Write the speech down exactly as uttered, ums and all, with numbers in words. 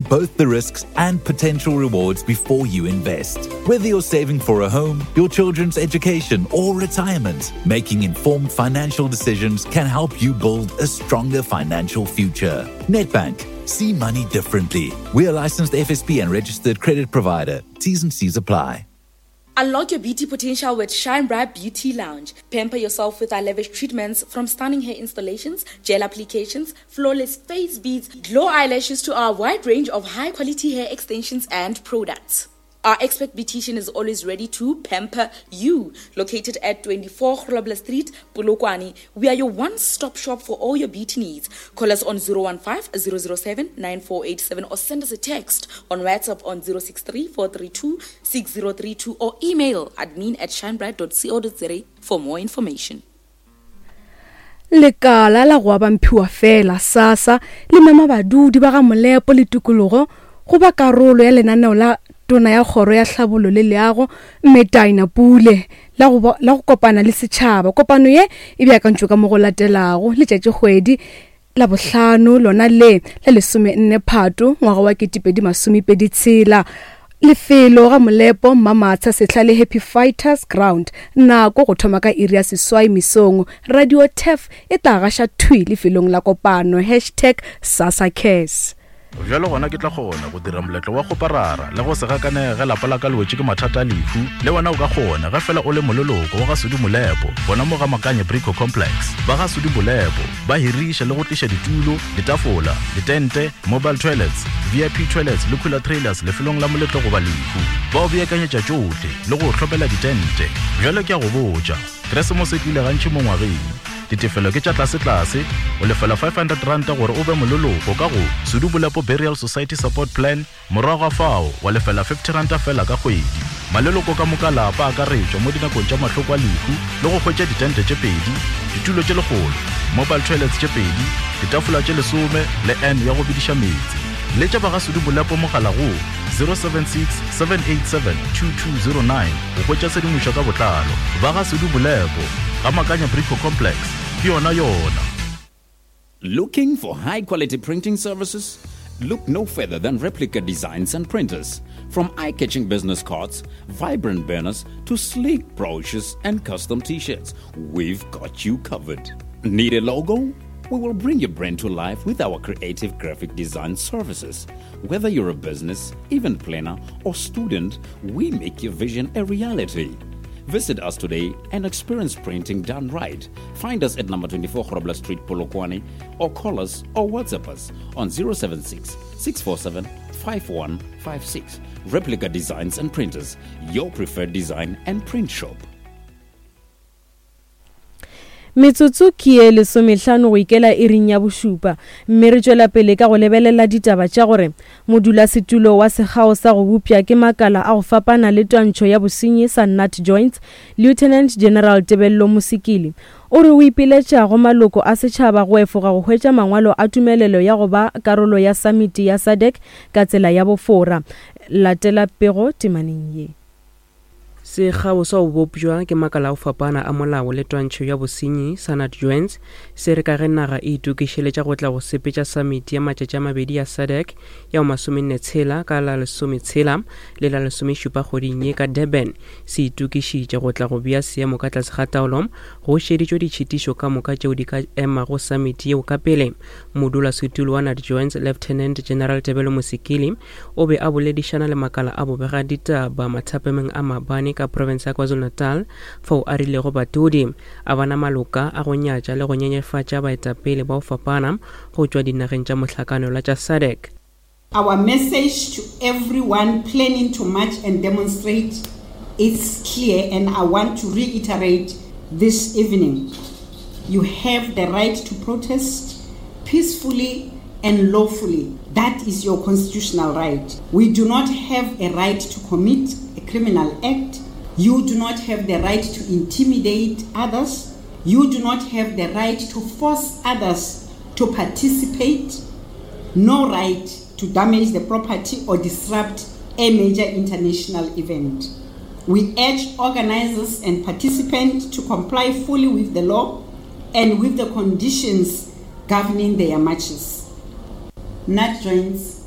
both the risks and potential rewards before you invest. Whether you're saving for a home, your children's education, or retirement, making informed financial decisions can help you build a stronger financial future. Nedbank. See money differently. We are licensed F S P and registered credit provider. T's and C's apply. Unlock your beauty potential with Shine Bright Beauty Lounge. Pamper yourself with our lavish treatments, from stunning hair installations, gel applications, flawless face beads, glow eyelashes to our wide range of high-quality hair extensions and products. Our expert beautician is always ready to pamper you. Located at twenty-four Grobler Street, Polokwane, we are your one-stop shop for all your beauty needs. Call us on zero one five, zero zero seven, nine four eight seven or send us a text on WhatsApp on zero six three, four three two, six zero three two or email admin at shinebright dot co dot za for more information. Lekala la go aba mphiwa fela SASSA le mema badudi ba ga Molepo le tikologo go ba karolo ya lenaneo la tona ya kgoro ya tlhabollo le leago mme Dina Pule la go la go kopana le setšhaba. Kopano ye e beakantšwe ka mo go latelago letšatši kgwedi la bohlano lona le la lesome nne Phato ngwaga wa ketepedi masomepedi tshela. Lefelo ga Molepo Mamatsha sehla le Happy Fighters Ground, nako go thoma ka iri ya seswai mesong. Radio T E F e tla gaša thwi lefelong la kopano, hashtag SASSA Cares. Bjalo gona ke tla kgona go dira moletlo wa kgoparara le go se gakanege lapa la ka le wetše ke mathata a lehu. Le wena o ka kgona ge fela o le moleloko wa ga Sudi Molepo, bona mo ga Makanye Brico Complex. Ba ga Sudi Molepo ba hiriša le go tliša ditulo, ditafola, ditente, mobile toilets, V I P toilets le cooler trailers lefelong la moletlo goba lehu. Ba o beakanyetša tšohle le go hlopela ditente. Bjalo ke a go botša, Keresemose e tlile gantši mo ngwageng. Ditefelo ke tša tlase-tlase, o lefela five hundred ranta gore o be moleloko ka go Sudi Molepo Burial Society Support Plan, morago ga fao wa lefela fifty ranta fela ka kgwedi. Maleloko ka moka lapa a akaretšwa mo dinakong tša mahloko a lehu le go hwetša ditente tše pedi, ditulo tše lekgolo, mobile toilets tše pedi, ditafola tše lesome le N ya go bediša meetse. Letša ba ga Sudi Molepo mogala go zero seven six, seven eight seven, two two zero nine go hwetša tshedimošo ka botlalo. Ba ga Sudi Molepo ga Makanya Brico Complex, ke yona yona. Looking for high quality printing services? Look no further than Replica Designs and Printers. From eye-catching business cards, vibrant banners, to sleek brochures and custom t-shirts, we've got you covered. Need a logo? We will bring your brand to life with our creative graphic design services. Whether you're a business, event planner, or student, we make your vision a reality. Visit us today and experience printing done right. Find us at number twenty-four Grobler Street, Polokwane, or call us or WhatsApp us on zero seven six, six four seven, five one five six. Replica Designs and Printers, your preferred design and print shop. Metsotso ke ye lesomehlano go ikela iring ya bošupa, mme re tšwela pele ka go lebelela ditaba tša gore modulasetulo wa sekgao sa go bopša ke makala a go fapana le twantšho ya bosenyi sa Nat Joints, Lieutenant General Tebello Mosikili, o re o ipiletša go maloko a setšhaba go efoga go hwetša mangwalo a tumelelo ya go ba karolo ya samiti ya SADC ka tsela ya bofora. Latela pego temaneng ye. Sekgao sa go bopšwa ke makala a go fapana a molao le twantšho ya bosenyi sa Nat Joints se re ka ge naga e itokišeletša go tla go sepetša samiti ya matšatši a mabedi ya SADC ya masomenne tshela ka la lesometshela le la lesomešupa kgweding ye ka Durban. Se itokišitše go tla go bea seemo ka tlase ga taolo go šeditšwe ditšhitišo ka moka tšeo di ka emago samiti yeo ka pele. Modulasetulo wa Nat Joints Lieutenant General Tebello Mosikili o be a boledišana le makala a bobega ditaba mathapemeng a mabane ka province ya KwaZulu-Natal fao a rilego badudi a bana maloka a go nyatša le go nyenyefatša baetapele ba go fapana go tšwa dinageng tša mohlakanelwa tša SADC. Our message to everyone planning to march and demonstrate is clear, and I want to reiterate this evening. You have the right to protest peacefully and lawfully. That is your constitutional right. We do not have a right to commit a criminal act. You do not have the right to intimidate others. You do not have the right to force others to participate. No right to damage the property or disrupt a major international event. We urge organizers and participants to comply fully with the law and with the conditions governing their marches. Nat Joints